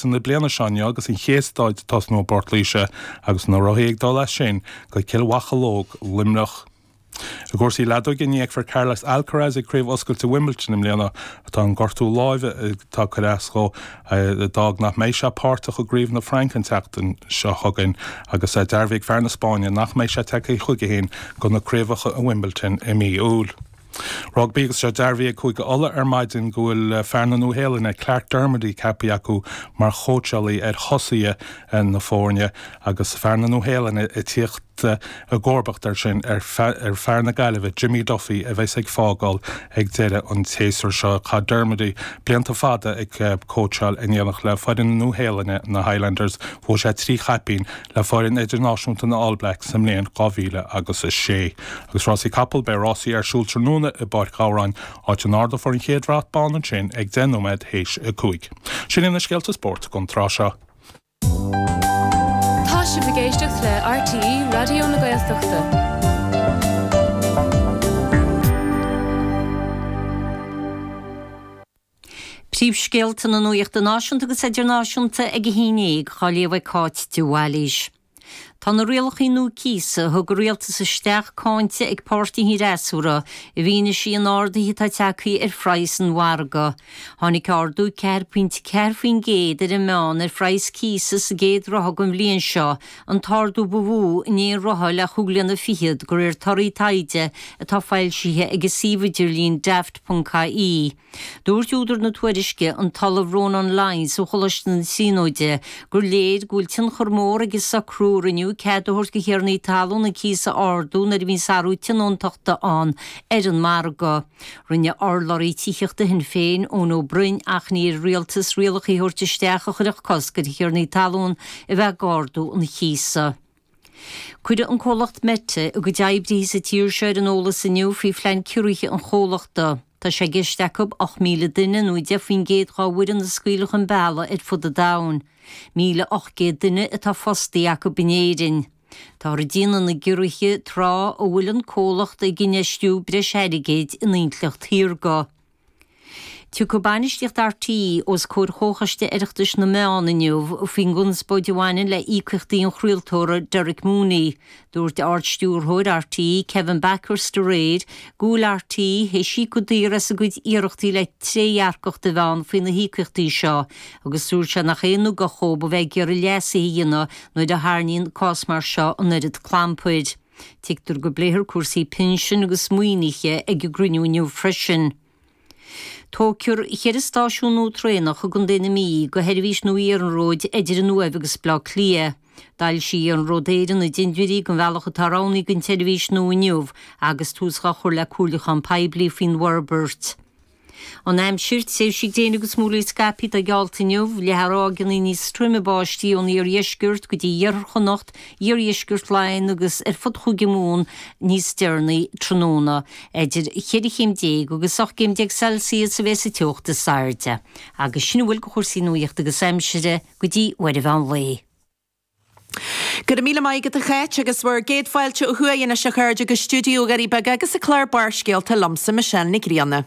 Na bliana seo inniu agus an chéad staid ag tosnú i bPort Laoise agus na rothaí ag dul as sin go Cill Mhocheallóg, Luimneach. I gcúrsaí leadóige ní fheicfear Carlos Alcaraz ag Craobh Oscailte Wimbledon i mbliana. Tá an gortú láimhe atá ag cur as dhó a d'fhág nach mbeidh sé páirteach i gCraobh na Fraince an tseachtain seo chugainn agus dearbhaithe ag fear na Spáinne nach mbeidh sé tagtha chuige féin do na craobhacha i Wimbledon i mí Iúil. Rugbaí agus tá sé dearbhaithe ag Cúige Uladh ar maidin go bhfuil fear na Nua-Shéalainne, Clarke Dermody ceaptha acu mar chóitseálaí ar thosaithe na foirne agus fear na Nua-Shéalainne ag tíocht i gcomharbacht air sin ar fear na Gaillimhe, Jimmy Duffy, a bheas ag fágáil ag deireadh an tséasúir seo. Chaith Dermody blianta fada ag cóitseáil in éineacht le foireann na Nua-Shéalainne, na Highlanders. Bhuaigh sé 3 chaipín le foireann idirnáisiúnta na All Blacks sa mbliain 2000 agus 6. Agus rásaí capall, beidh rásaí ar siúl tráthnóna i bPáirc Ghabhráin, áit a n-ardófar an chéad bhrat bán ansin ag 10 nóiméad théis a 5. Sin iad na scéalta spóirt don tráth seo. Tá sibh ag éisteacht le RTÉ Raidió na Gaeltachta. Príomhscéalta na nuachta náisiúnta agus idirnáisiúnta ag a 11, á léamh ag Cáit de Bhailís. Tá na rialacha nua cíosa a thug an rialtas isteach cáinte ag páirtithe an fhreasúra i bhfianaise an ardaithe atá tagtha ar phraghas an mhargaidh. Tháinig ardú 4.4% ar an meán ar phraghas cíosa sa gcéad ráithe den bhliain seo, an t-ardú ba mhó in aon ráithe le chúig bliana fichead, de réir torthaí taighde atá foilsithe ag an suíomh idirlín Daft.ie. Dúirt údar na tuairisce, an tOllamh Rónán Lyons ó Choláiste na Tríonóide, gur léir go bhfuil tionchar mór ag an socrú a rinneadh cead a thabhairt do thiarnaí talún an cíos a ardú nuair a bhíonn sárú tionóntachta ann ar an margadh. Rinne urlabhraí tithíochta Shinn Féin, Eoin Ó Broin, achainí ar an rialtas rialacha a thabhairt isteach a chuirfeadh cosc ar thiarnaí talún a bheith ag ardú an chíosa. Cuireadh an comhlacht Meta a gcuid oibrithe sa tír seo ar an eolas inniu faoi phlean ciorruithe an chomhlachta. Tá sé i gceist acu 8,000 duine nó 10% dá bhfoireann a scaoileadh chun bealaigh ar fud an domhain. 1,800 duine atá fostaithe acu in Éirinn. Táthar ag déanamh na gciorruithe tráth a bhfuil an comhlacht ag infheistiú breis airgid in intleacht shaorga. Tiocfaidh bainistíocht RTÉ os comhair Chomhchoiste Oireachtais na Meán inniu faoin gconspóid a bhaineann le híocaíochtaí an chraoltóra Derek Mooney. Dúirt Ard-Stiúrthóir RTÉ, Kevin Bakhurst aréir go bhfuil RTÉ théis íoc go daor as a gcuid iarrachtaí le trédhearcacht a bheith ann faoi na híocaíochtaí seo agus dúirt sé nach aon ugach dhóibh a bheith ag iarraidh leasuithe a dhéanamh nuair a tharraingíonn cás mar seo an oiread clampair. Tuigtear go bpléifear cúrsaí pinsin agus maoinithe ag an gcruinniú inniu freisin. Tógfar cheithre stáisiún nua traenach i gContae na Mí do sheirbhís nua iarnróid idir an Uaimh agus Baile Átha Cliath. D'fhoilsigh Iarnród Éireann na dintiúirí don bhealach atá roghnaithe don tseirbhís nua inniu agus tús á chur le comhairliúchán poiblí faoin bhforbairt. An aimsir, tréimhsí gréine agus múraíl scaipthe atá geallta inniu, le ráigeanna níos troime báistí ón iardheisceart go dtí iarthar Chonnacht, iardheisceart Laighean agus ar fud Chúige Mumhan níos deireanaí tráthnóna. Idir cheithre chéim déag agus 18 gcéim Celsius a bheas an teocht is airde. Agus sin a bhfuil de chúrsaí nuachta agus aimsire go dtí uair an mheán lae. Go raibh míle maith agat a Cháit agus bhur gcéad fáilte ó thuaidh anois a chairde go stiúideo Dhoirí Beaga agus an clár Barrscéalta liomsa Michelle Nic Grianna.